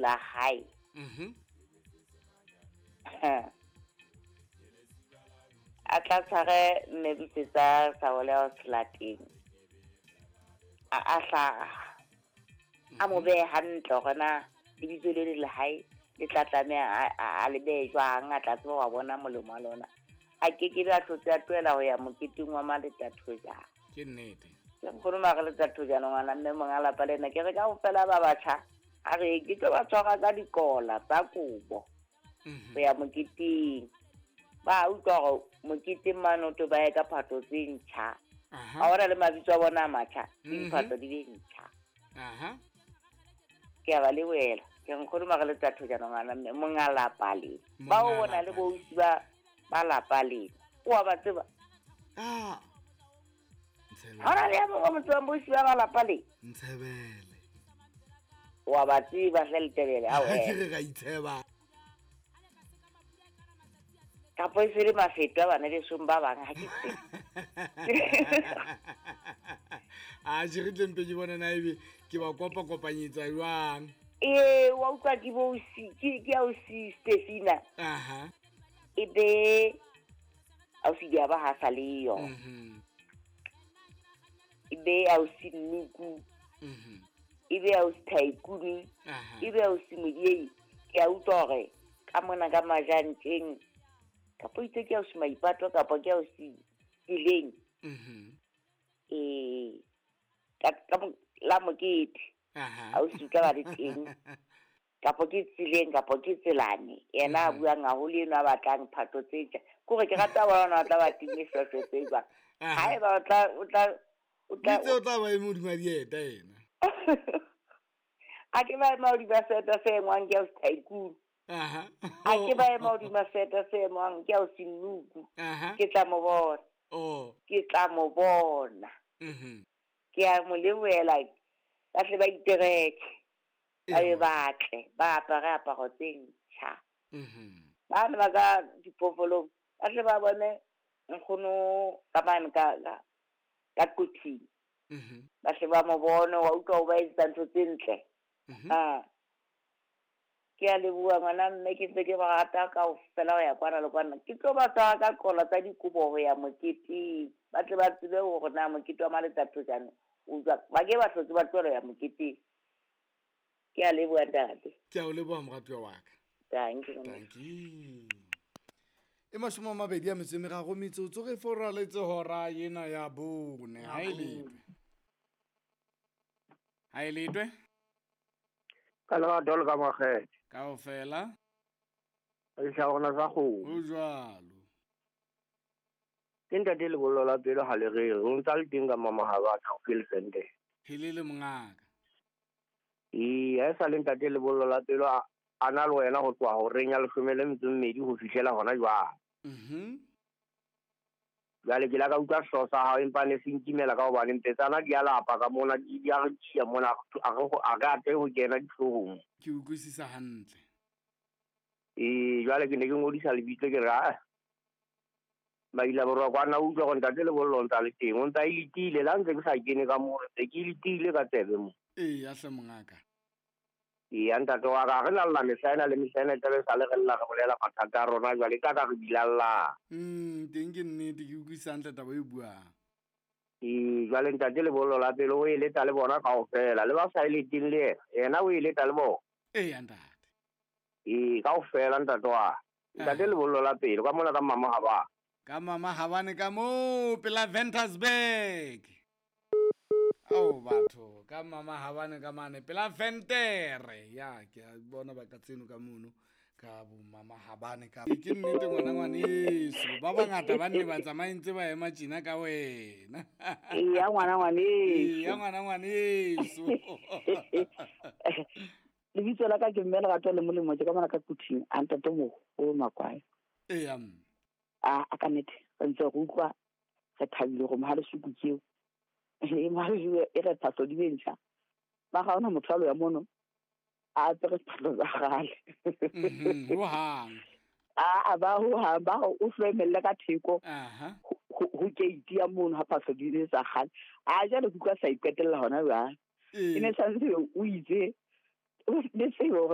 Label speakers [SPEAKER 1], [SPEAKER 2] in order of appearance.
[SPEAKER 1] la hae. A tla tshware mme Bisetsa sa ole o selateng. A hlaha. A mo behe hantle hore na lebitso le le hae le tla tlameha a le behe jwang, a tla tseba wa bona molemo wa lona. A ke ke be a hlotse a tlohela ho ya moketeng wa Maletathojana.
[SPEAKER 2] Ke nnete.
[SPEAKER 1] Ke nkgono Maletathojana ngwana mme monga lapa lena ke re kaofela ba batjha a re ke tlo ba tshwara ka dikola tsa kobo ho ya moketeng. Ba utlwa hore moketeng mane o to ba ye ka phahlo tse ntjha. A bona le mabitso a bona a matjha, le diphahlo di be ntjha. Ke a ba lebohela. Ke nkgono Maletathojana ngwana mme monga lapa lena. Ba o bona le boausi ba lapa lena. O a ba tseba?
[SPEAKER 2] Ah.
[SPEAKER 1] Ha hona le ya mong o mo tsebang boausi ba lapa lena?
[SPEAKER 2] Ntshebele.
[SPEAKER 1] O a ba tseba hle Letebele, ao
[SPEAKER 2] Ke re ra itsheba.
[SPEAKER 1] Kapo e se le mafeto a bana besong ba bang, ha ke tsebe.
[SPEAKER 2] A je re tle mpe ke bona na ebe ke ba kopa kopanyetsa jwang.
[SPEAKER 1] Ee, wa utlwa ke bo ke ausi Stefina. E be ausi Diaba ha sa le yo. E be ausi Nnuku. E be ausi Tycoon. E be ausi Modiei. Ke a utlwa hore ka mona ka majanteng kapo itse ke ausi Maipato kapo ke ausi Tseleng. Ka la mokete. Ausi ka ba le teng. Kapo ke Tseleng kapo ke Tselane. Yena a buang haholo eno a batlang phatlo tse ntjha. Ke hore ke rata bona ba tla ba timme hlooho tse jwang. Haeba o tla o tla o tla
[SPEAKER 2] Itse o tla ba eme hodima dieta yena.
[SPEAKER 1] A ke ba ema hodima seeta se engwang ke ausi Tycoon. A ke ba ema hodima seeta se engwang ke ausi Nnuku. Ke tla mo bona. Ke tla mo bona. Ke a mo lebohela. Ba tle ba itereke. Ba be batle, ba apare aparo tse ntjha. Ba ne ba ka diphofolong, ba tle ba bone nkgono ka mane ka Quthing. Ba tle ba mo bone, wa utlwa o ba etsetsa ntho tse ntle. Ke a leboha ngwana mme ke ntse ke ba rata kaofela ho ya kwana le kwana. Ke tlo ba tshwara ka qola tsa dikobo ho ya moketeng. Ba tle ba tsebe hore na mokete wa Maletathojana o jwang. Ba ke ba hlotse ba tlohela ho ya moketeng. Ke a leboha ntate.
[SPEAKER 2] Ke a o leboha moratuwa wa ka.
[SPEAKER 1] Thank you.
[SPEAKER 2] Thank you. E 23 metsotso re foraletse hora ena ya 4. Ha e letwe. Ha e letwe.
[SPEAKER 3] Ka lerato le ka makgethe.
[SPEAKER 2] Kaofela.
[SPEAKER 3] Re tla rona sa kgomo.
[SPEAKER 2] Ho jwalo.
[SPEAKER 3] Ke ntate lebollo la pelo ha le re, o ntsa le teng ka mama ha ba tla ke lefende.
[SPEAKER 2] Helele mongaka.
[SPEAKER 3] Ee, ha e sa le ntate lebollo la pelo a na le wena ho tloha horeng ya 12 ho fihlela hona jwale. Jwale ke la ka utlwa sehlooho sa hao empa ne se nkimela ka hobane mpetsana di a lapa ka mona, di a re tjia mona, a re atlehe ho kena dihloohong.
[SPEAKER 2] Ke utlwisisa hantle.
[SPEAKER 3] Ee, jwale ke ne ke ngodisa lebitso ke re, ah, Maila Borwa kwana utlwa hore ntate lebollo o ntsa le teng, o ntsa e letile, le ha ntse ke sa kene ka moo, ntse ke letile ka tsebe mo.
[SPEAKER 2] Ee, ya hle mongaka.
[SPEAKER 3] Ee, ya ntate wa ka, re na lla mehla ena le mehla ena e tlabe e sale re lla re bolela mathata a rona jwale, ka ka re bilalla.
[SPEAKER 2] Teng ke nnete, ke utlwisisa hantle taba e buang.
[SPEAKER 3] Ee, jwale ntate lebollo la pele o eletsa le bona kaofela, le ba sa eleteng le yena, yena o eletsa le bona.
[SPEAKER 2] Ee, ya ntate.
[SPEAKER 3] Ee, kaofela ntate wa. Ntate lebollo la pele, ka mona ka mama ha ba.
[SPEAKER 2] Ka mama habane ka moo pela Ventersburg. Ao batho, ka mama habane ka mane pela Ventere. Ya ke a bona ba ka tseno ka mono ka bo mama habane ka. Ke nnete ngwana ngwaneso, ba bangata ba nne ba tsamaye ntse ba ema tjena ka wena.
[SPEAKER 4] Ee, ya ngwana ngwaneso.
[SPEAKER 2] Ee, ya ngwana ngwaneso.
[SPEAKER 4] Lebitso la ka ke mme Lerato le Molemo, ke ka mona ka Quthing, a ntate moholo Makwaya.
[SPEAKER 2] Ee, ya mme.
[SPEAKER 4] A ka nnete, re ntse re utlwa re thabile hore Mohalesuku ke eo. E Mohalesuku e re phahlo di be ntjha. Ba ga hona motho a lo ya mono a apere diphahlo tsa kgale.
[SPEAKER 2] Hohang.
[SPEAKER 4] A ba hohang, ba o hloemelle ka theko. Ho gate ya mono ha phahlo di le tsa kgale. A jwale ke utlwa sa iqetella hona jwale. E ne santse o itse le tsebe hore